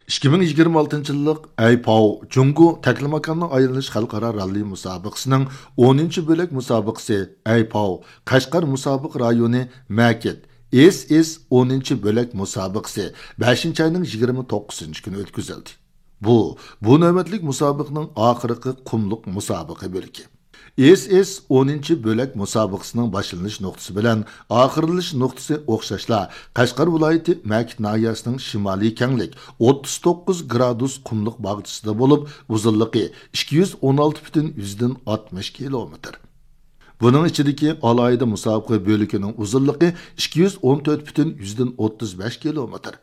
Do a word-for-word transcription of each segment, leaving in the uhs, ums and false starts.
ئىككى مىڭ يىگىرمە ئالتىنچى يىللىق ئەيپاۋ جۇڭگو تەكلىماكاننى ئايلىنىش خەلقئارا راللى مۇسابىقىسىنىڭ ئونىنچى بۆلەك مۇسابىقىسى ئەيپاۋ قەشقەر مۇسابىقە رايونى مەكىت ئېس ئېس ئونىنچى بۆلەك مۇسابىقىسى بەشىنچى ئاينىڭ يىگىرمە توققۇزىنچى كۈنى ئۆتكۈزۈلدى. بۇ، بۇ نۆۋەتلىك مۇسابىقىنىڭ ئاخىرقى قۇملۇق مۇسابىقە بۆلىكى. ئېس ئېس ئونىنچى بۆلەك مۇسابىقىسىنىڭ باشلىنىش نۇقتىسى بىلەن ئاخىرلىنىش نۇقتىسى ئوخشاشلا، قەشقەر ۋىلايىتى مەكىت ناھىيەسىنىڭ شىمالىي كەڭلىك ئوتتۇز توققۇز گرادۇس قۇملۇق باغچىسىدا بولۇپ، ئۇزۇنلۇقى ئىككى يۈز ئون ئالتە پۈتۈن يۈزدىن ئاتمىش كىلومېتىر. بۇنىڭ ئىچىدىكى ئالاھىدە مۇسابىقە بۆلىكىنىڭ ئۇزۇنلۇقى ئىككى يۈز ئون تۆت پۈتۈن يۈزدىن ئوتتۇز بەش كىلومېتىر.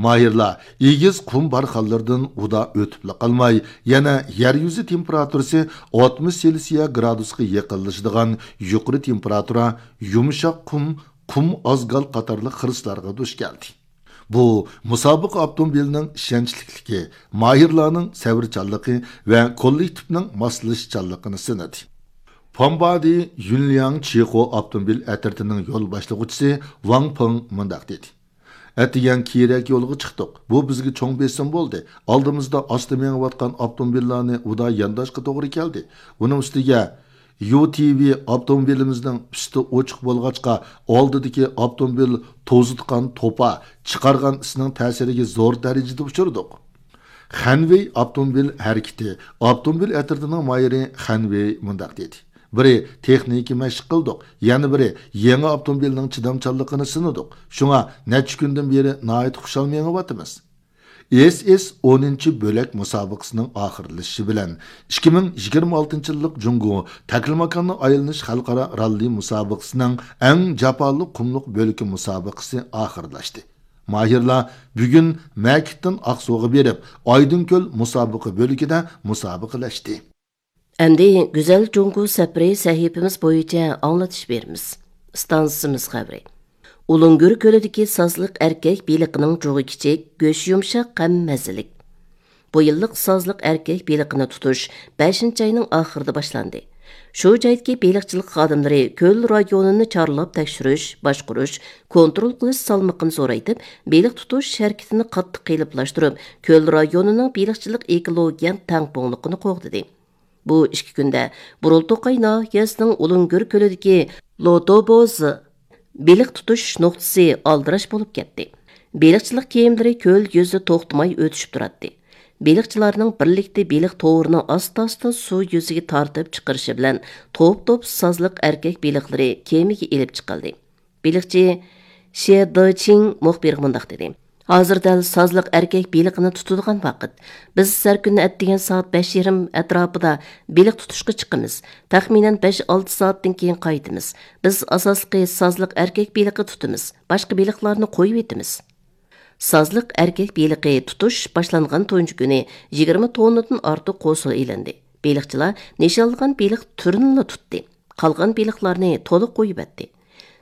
ماھىرلار ئېگىز قۇم بارخانلىرىدىن ئۇدا ئۆتۈپلا قالماي، يەنە يەر يۈزى تېمپېراتۇرىسى ئاتمىش سېلسىيە گرادۇسقا يېقىنلىشىدىغان يۇقىرى تېمپېراتۇرا، يۇمشاق قۇم، قۇم ئازگال قاتارلىق خىرىسلارغا دۇچ كەلدى. بۇ مۇسابىقە ئاپتوموبىلىنىڭ ئىشەنچلىكلىكى، ماھىرلارنىڭ سەۋرچانلىقى ۋە كوللېكتىپنىڭ ماسلىشىشچانلىقىنى سىنىدى. پامبادى يۈنلياڭ چىخو ئاپتوموبىل ئەترىتىنىڭ يول باشلىغۇچىسى ۋاڭ پېڭ مۇنداق دېدى: ئەتىگەن كېيىنرەك يولغا چىقتۇق. بۇ بىزگە چوڭ بېسىم بولدى. ئالدىمىزدا ئاستا مېڭىۋاتقان ئاپتوموبىللارنى ئۇدا يانداشقا توغرا كەلدى. ئۇنىڭ ئۈستىگە يۇ تى ۋى ئاپتوموبىلىمىزنىڭ ئۈستى ئوچۇق بولغاچقا، ئالدىدىكى ئاپتوموبىل توزۇتقان توپا چىقارغان ئىسنىڭ تەسىرىگە زور دەرىجىدە ئۇچرىدۇق. خەنۋېي ئاپتوموبىل ھەرىكىتى ئاپتوموبىل ئەترىتىنىڭ ماھىرى خەنۋېي مۇنداق دېدى: بىرى تېخنىكا مەشىق قىلدۇق، يەنە بىرى يېڭى ئاپتوموبىلنىڭ چىدامچانلىقىنى سىنىدۇق. شۇڭا نەچچە كۈندىن بېرى ناھايىتى خۇشال مېڭىۋاتىمىز. ئېس ئېس ئونىنچى بۆلەك مۇسابىقىسىنىڭ ئاخىرلىشىشى بىلەن، ئىككى مىڭ يىگىرمە ئالتىنچى يىللىق جۇڭگو تەكلىماكاننى ئايلىنىش خەلقئارا راللى مۇسابىقىسىنىڭ ئەڭ جاپالىق قۇملۇق بۆلىكى مۇسابىقىسى ئاخىرلاشتى. ماھىرلار بۈگۈن مەكىتتىن ئاقسۇغا بېرىپ، ئايدىڭكۆل مۇسابىقە بۆلىكىدە مۇسابىقىلەشتى. ئەمدى گۈزەل جۇڭگو سەپىرى سەھىپىمىز بويىچە ئاڭلىتىش بېرىمىز. ئىستانسىمىز خەۋىرى. ئۇلۇڭگۈر كۆلىدىكى سازلىق ئەركەك بېلىقىنىڭ جۇغى كىچىك، گۆشى يۇمشاق ھەم مەززىلىك. بۇ يىللىق سازلىق ئەركەك بېلىقىنى تۇتۇش بەشىنچى ئاينىڭ ئاخىرىدا باشلاندى. شۇ جايدىكى بېلىقچىلىق خادىملىرى كۆل رايونىنى چارلاپ تەكشۈرۈش، باشقۇرۇش، كونترول قىلىش سالمىقىنى زورايتىپ، بېلىق تۇتۇش ھەرىكىتىنى قاتتىق قېلىپلاشتۇرۇپ، كۆل رايونىنىڭ بېلىقچىلىق ئېكولوگىيە تەڭپۇڭلۇقىنى قوغدىدى. بۇ ئىككى كۈندە بۇرۇلتوقاي ناھىيەسىنىڭ ئۇلۇڭگۈر كۆلىدىكى لوتوبوز بېلىق تۇتۇش نۇقتىسى ئالدىراش بولۇپ كەتتى. بېلىقچىلىق كېمىلىرى كۆل يۈزىدە توختىماي ئۆتۈشۈپ تۇراتتى. بېلىقچىلارنىڭ بىرلىكتە بېلىق توۋىرىنى ئاستا-ئاستا سۇ يۈزىگە تارتىپ چىقىرىشى بىلەن توپ-توپ سازلىق ئەركەك بېلىقلىرى كېمىگە ئېلىپ چىقىلدى. بېلىقچى شې دېچىڭ مۇخبىرغا مۇنداق دېدى: ھازىر دەل سازلىق ئەركەك بېلىقىنى تۇتىدىغان ۋاقىت. بىز ھەر كۈنى ئەتىگەن سائەت بەش يېرىم ئەتراپىدا بېلىق تۇتۇشقا چىقىمىز. تەخمىنەن بەش-ئالتە سائەتتىن كېيىن قايتىمىز. بىز ئاساسلىقى سازلىق ئەركەك بېلىقى تۇتىمىز. باشقا بېلىقلارنى قويۇۋېتىمىز. سازلىق ئەركەك بېلىقى تۇتۇش باشلانغان تۇنجى كۈنى يىگىرمە توننىدىن ئارتۇق قوسۇل ئېلىندى. بېلىقچىلار نىشانلىغان بېلىق تۈرىنىلا تۇتتى. قالغان بېلىقلارنى تولۇق قويۇۋەتتى.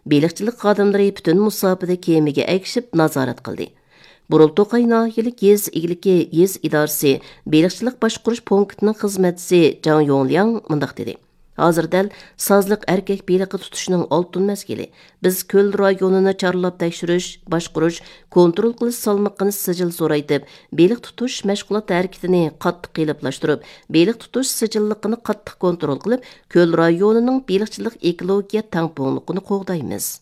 بېلىقچىلىق خادىملىرى پۈتۈن مۇساپىدە كېمىگە ئەگىشىپ نازارەت قىلدى. بۇرۇلتوقاي ناھىيەلىك يېزا ئىگىلىكى يېزا ئىدارىسى بېلىقچىلىق باشقۇرۇش پونكىتىنىڭ خىزمەتچىسى جاڭ يوڭلياڭ مۇنداق دېدى: ھازىر دەل سازلىق ئەركەك بېلىقى تۇتۇشنىڭ ئالتۇن مەزگىلى. بىز كۆل رايونىنى چارلاپ تەكشۈرۈش، باشقۇرۇش، كونترول قىلىش سالمىقىنى سىجىل زورايتىپ، بېلىق تۇتۇش مەشغۇلات ھەرىكىتىنى قاتتىق قېلىپلاشتۇرۇپ، بېلىق تۇتۇش سىجىللىقىنى قاتتىق كونترول قىلىپ، كۆل رايونىنىڭ بېلىقچىلىق ئېكولوگىيە تەڭپۇڭلۇقىنى قوغدايمىز.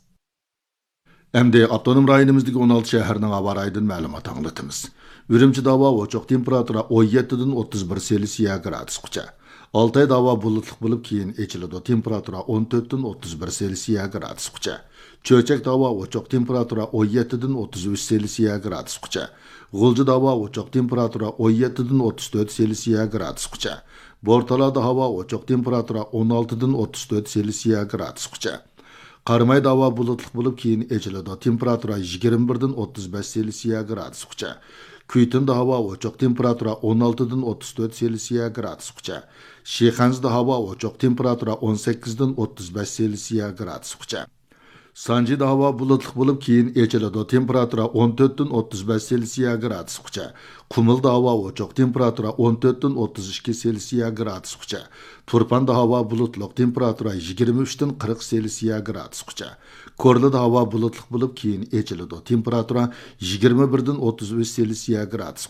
ئەمدى ئاپتونوم رايونىمىزدىكى ئون ئالتە شەھەرنىڭ ھاۋا رايىدىن مەلۇمات ئاڭلىتىمىز. ئۈرۈمچىدە ھاۋا ئوچۇق، تېمپېراتۇرا ئون يەتتىدىن ئوتتۇز بىر سېلسىيە گرادۇسقىچە. ئالتايدا ھاۋا بۇلۇتلۇق بولۇپ، كېيىن ئېچىلىدۇ، تېمپېراتۇرا ئون تۆتتىن ئوتتۇز بىر سېلسىيە گرادۇسقىچە. چۆچەكتە ھاۋا ئوچۇق، تېمپېراتۇرا ئون يەتتىدىن ئوتتۇز ئۈچ سېلسىيە گرادۇسقىچە. غۇلجىدا ھاۋا ئوچۇق، تېمپېراتۇرا ئون يەتتىدىن ئوتتۇز تۆت سېلسىيە گرادۇسقىچە. بورتالادا ھاۋا ئوچۇق، تېمپېراتۇرا ئون ئالتىدىن ئوتتۇز تۆت سېلسىيە گرادۇسقىچە. قارامايدا ھاۋا بۇلۇتلۇق بولۇپ، كېيىن ئېچىلىدۇ، تېمپېراتۇرا يىگىرمە بىردىن ئوتتۇز بەش سېلسىيە گرادۇسقىچە. كۈيتۇندا ھاۋا ئوچۇق، تېمپېراتۇرا ئون ئالتىدىن ئوتتۇز تۆت سېلسىيە گرادۇسقىچە. شىخەنزىدە ھاۋا ئوچۇق، تېمپېراتۇرا ئون سەككىزدىن ئوتتۇز بەش سېلسىيە گرادۇسقىچە. سانجىدا ھاۋا بۇلۇتلۇق بولۇپ، كېيىن ئېچىلىدۇ، تېمپېراتۇرا ئون تۆتتىن ئوتتۇز بەش سېلسىيە گرادۇسقىچە. قۇمۇلدا ھاۋا ئوچۇق، تېمپېراتۇرا ئون تۆتتىن ئوتتۇز ئىككى سېلسىيە گرادۇسقىچە. تۇرپاندا ھاۋا بۇلۇتلۇق، تېمپېراتۇرا يىگىرمە ئۈچتىن قىرىق سېلسىيە گرادۇسقىچە. كورلىدا ھاۋا بۇلۇتلۇق بولۇپ، كېيىن ئېچىلىدۇ، تېمپېراتۇرا يىگىرمە بىردىن ئوتتۇز ئۈچ سېلسىيە گرادۇسقىچە.